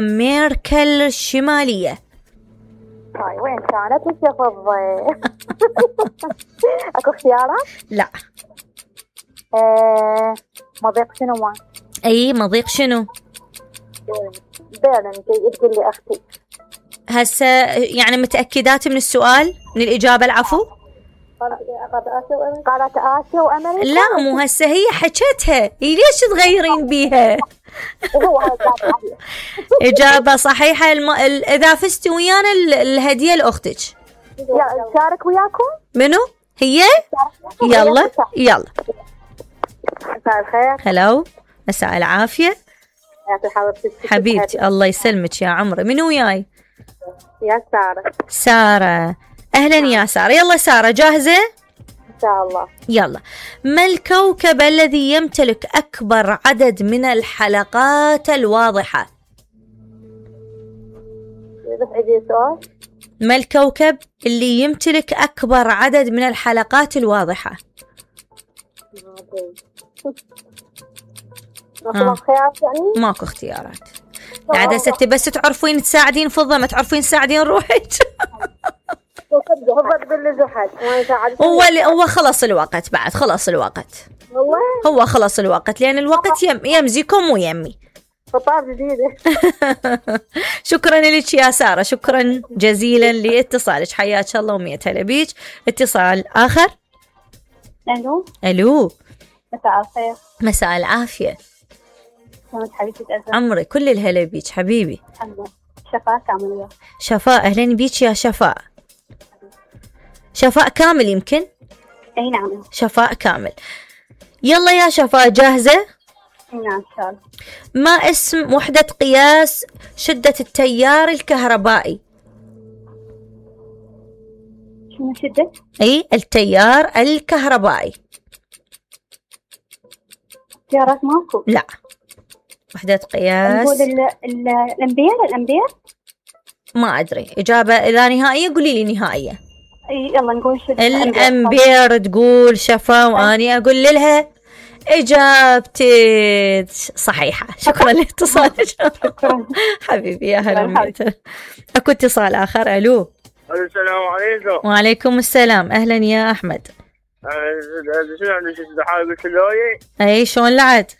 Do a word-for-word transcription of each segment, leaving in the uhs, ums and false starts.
أمريكا الشمالية؟ هاي وين كانت وش افضل؟ اكو اختيارات؟ لا. ايه مضيق شنو ما؟ اي مضيق شنو؟ برلين تقول لي اختي. هسه يعني متأكدات من السؤال من الإجابة؟ العفو. قارة آسيا وأمريكا. لا مو هسه هي حكتها، ليش تغيرين بيها؟ إجابة صحيحة. الم... ال... إذا فزتي ويانا ال... الهدية لأختك. شارك وياكم؟ منو؟ هي؟ يلا يلا. مساء الخير. هلو مساء العافية. حبيبتي الله يسلمك يا عمري. منو وياي؟ يا سارة. سارة أهلا يا سارة. يلا سارة جاهزة؟ إن شاء الله. يلا. ما الكوكب الذي يمتلك أكبر عدد من الحلقات الواضحة؟ ما الكوكب اللي يمتلك أكبر عدد من الحلقات الواضحة؟ ماكو اختيارات يعني؟ ماكو اختيارات. قاعدة ستي بس تعرفين تساعدين فضة، ما تعرفين تساعدين روحك. هو هو خلص الوقت بعد، خلص الوقت. والله هو خلص الوقت لأن الوقت يم يمزيكم ويمي. خطاب جديدة. شكرا لك يا سارة، شكرا جزيلا لاتصالك. حياك الله ومية هلا بيك. اتصال آخر. ألو. ألو مساء الخير. مساء العافية. شلونك حبيبتي أزل؟ عمري كل الهلا بيك حبيبي. الحمد لله. شفاء كامل. شفاء أهلا بيك يا شفاء. شفاء كامل يمكن؟ اي نعم شفاء كامل. يلا يا شفاء جاهزة؟ نعم ان شاء الله. ما اسم وحدة قياس شدة التيار الكهربائي؟ شنو شدة؟ اي التيار الكهربائي. تيارات ماكو. لا وحدة قياس. نقول ال ال الامبير. الامبير ما ادري. اجابة اذا نهائية قولي لي نهائية. يلا نقول شدة الامبير. تقول شفا واني اقول لها اجابتك صحيحة. شكرا لاتصالك. شكرا حبيبي يا هلا. اكو اتصال اخر. الو. السلام عليكم. وعليكم السلام. اهلا يا احمد. شنو عندك حاجة سلوية؟ اي شلون لعد؟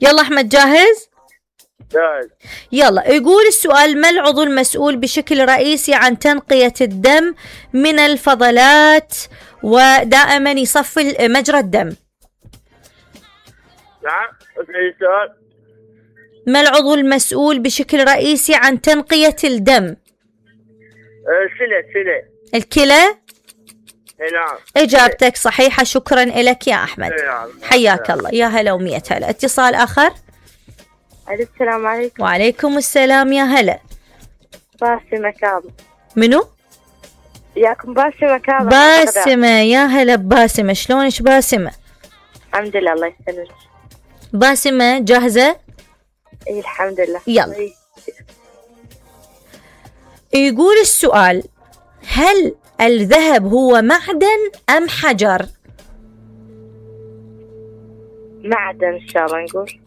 يلا احمد جاهز؟ جاهز. يلا. يقول السؤال: ما العضو المسؤول بشكل رئيسي عن تنقية الدم من الفضلات ودائما يصفي مجرى الدم؟ نعم السؤال. ما العضو المسؤول بشكل رئيسي عن تنقية الدم؟ الكلى. الكلى. الكلى. نعم. إجابتك صحيحة. شكرا لك يا أحمد. نعم. حياك الله. يا هلا ومية هلا. اتصال آخر. السلام عليكم. وعليكم السلام يا هلا. باسمة كامل. منو؟ ياكم باسمة كامل. باسمة. يا هلا باسمة. شلونش باسمة؟ الحمد لله الله يسلمك. باسمة جاهزة؟ اي الحمد لله. يلا. يقول السؤال: هل الذهب هو معدن أم حجر؟ معدن إن شاء الله نقول.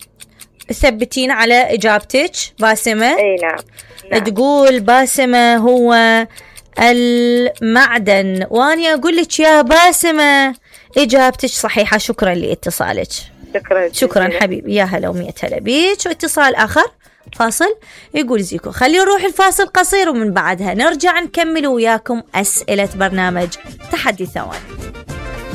ثبتين على إجابتك باسمة؟ اي نعم. نعم. تقول باسمة هو المعدن، وأنا أقول لك يا باسمة إجابتك صحيحة. شكرا لاتصالك. شكرا شكرا حبيبي. يا هلا ومية هلا بيك. واتصال آخر. فاصل. يقول زيكو: خلينا نروح الفاصل قصير ومن بعدها نرجع نكمل وياكم أسئلة برنامج تحدي ثواني.